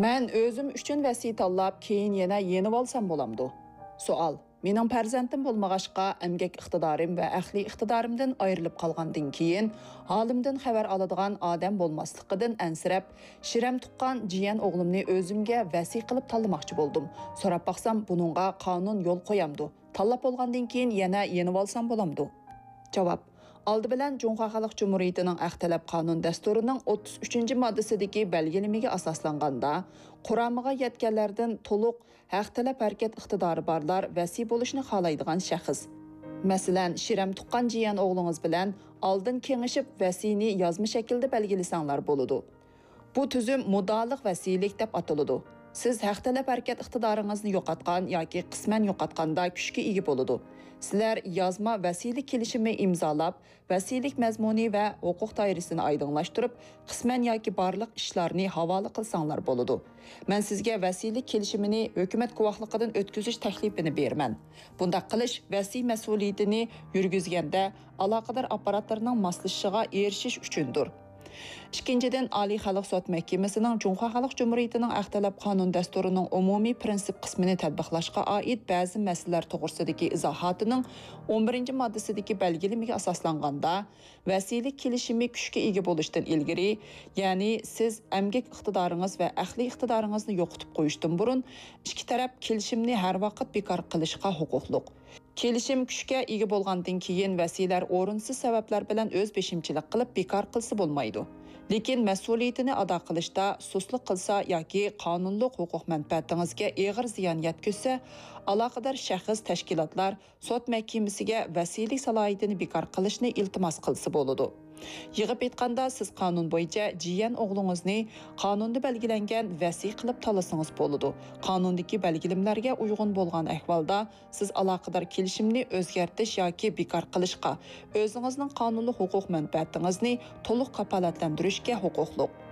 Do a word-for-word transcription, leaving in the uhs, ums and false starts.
مەن ئۆزۈم ئۈچۈن ۋەسىي تاللاپ، كېيىن يەنە يېنىۋالسام بولامدۇ؟ سوئال. مېنىڭ پەرزەنتىم بولمىغاچقا، ئەمگەك ئىقتىدارىم ۋە ئەقلىي ئىقتىدارىمدىن ئايرىلىپ قالغاندىن كېيىن، ھالىمدىن خەۋەر ئالىدىغان ئادەم بولماسلىقىدىن ئەنسىرەپ، شىرەم تۇغقان جىيەن ئوغلۇمنى ئۆزۈمگە ۋەسىي قىلىپ تاللىماقچى بولدۇم. سوراپ باقسام، بۇنىڭغا قانۇن يول قويامدۇ؟ تاللاپ بولغاندىن كېيىن يەنە يېنىۋالسام بولامدۇ؟ جاۋاب. ئالدى بىلەن جۇڭخۇا خەلق جۇمھۇرىيىتىنىڭ ئەق تەلەپ قانۇن دەستۇرىنىڭ ئوتتۇز ئۈچىنچى ماددىسىدىكى بەلگىلىمىگە ئاساسلانغاندا، قۇرامىغا يەتكەنلەردىن تولۇق ھەق تەلەپ ھەرىكەت ئىقتىدارى بارلار ۋەسىي بولۇشنى خالايدىغان شەخس. مەسىلەن، شىرەم تۇغقان جىيەن ئوغلىڭىز بىلەن ئالدىن كېڭىشىپ، ۋەسىينى يازما شەكىلدە بەلگىلىسەڭلار بولىدۇ. بۇ تۈزۈم مۇددىئالىق ۋەسىيلىك دەپ ئاتىلىدۇ. سىز ھەق تەلەپ ھەرىكەت ئىقتىدارىڭىزنى يوقاتقان ياكى قىسمەن يوقاتقاندا كۈچكە ئىگە بولىدۇ. سىلەر يازما ۋەسىيلىك كېلىشىمى ئىمزالاپ، ۋەسىيلىك مەزمۇنى ۋە ھوقۇق دائىرىسىنى ئايدىڭلاشتۇرۇپ، قىسمەن ياكى بارلىق ئىشلارنى ھاۋالە قىلساڭلار بولىدۇ. مەن سىزگە ۋەسىيلىك كېلىشىمىنى ھۆكۈمەت گۇۋاھلىقىدىن ئۆتكۈزۈش تەكلىپىنى بېرىمەن. بۇنداق قىلىش ۋەسىي مەسئۇلىيىتىنى يۈرگۈزگەندە ئالاقىدار ئاپپاراتلارنىڭ ماسلىشىشىغا ئېرىشىش ئۈچۈندۇر. ئىككىنچىدىن، ئالىي خەلق سوت مەھكىمىسىنىڭ جۇڭخۇا خەلق جۇمھۇرىيىتىنىڭ ھەق تەلەپ قانۇن دەستۇرىنىڭ ئومۇمىي پىرىنسىپ قىسمىنى تەتبىقلاشقا ئائىت بەزى مەسىلىلەر توغرىسىدىكى ئىزاھاتىنىڭ ئون بىرىنچى ماددىسىدىكى بەلگىلىمىگە ئاساسلانغاندا، ۋەسىيلىك كېلىشىمى كۈچكە ئىگە بولۇشتىن ئىلگىرى، يەنى سىز ئەمگەك ئىقتىدارىڭىز ۋە ئەقلىي ئىقتىدارىڭىزنى يوقىتىپ قويۇشتىن بۇرۇن، ئىككى تەرەپ كېلىشىمنى ھەر ۋاقىت بىكار قىلىشقا ھوقۇقلۇق. كېلىشىم كۈچكە ئىگە بولغاندىن كېيىن، ۋەسىيلەر ئورۇنسىز سەۋەبلەر بىلەن ئۆز بېشىمچىلىق قىلىپ بىكار قىلسا بولمايدۇ. لېكىن مەسئۇلىيىتىنى ئادا قىلىشتا سۇسلۇق قىلسا ياكى قانۇنلۇق ھوقۇق مەنپەئەتىڭىزگە ئېغىر زىيان يەتكۈزسە، ئالاقىدار شەخس، تەشكىلاتلار سوت مەھكىمىسىگە ۋەسىيلىك سالاھىيىتىنى بىكار قىلىشنى ئىلتىماس قىلسا بولىدۇ. يىغىپ ئېيتقاندا، سىز قانۇن بويىچە جىيەن ئوغلىڭىزنى قانۇندا بەلگىلەنگەن ۋەسىي قىلىپ تاللىسىڭىز بولىدۇ. قانۇندىكى بەلگىلىمىلەرگە ئۇيغۇن بولغان ئەھۋالدا، سىز ئالاقىدار كېلىشىمنى ئۆزگەرتىش ياكى بىكار قىلىشقا، ئۆزىڭىزنىڭ قانۇنلۇق ھوقۇق مەنپەئەتىڭىزنى تولۇق كاپالەتلەندۈرۈشكە ھوقۇقلۇق.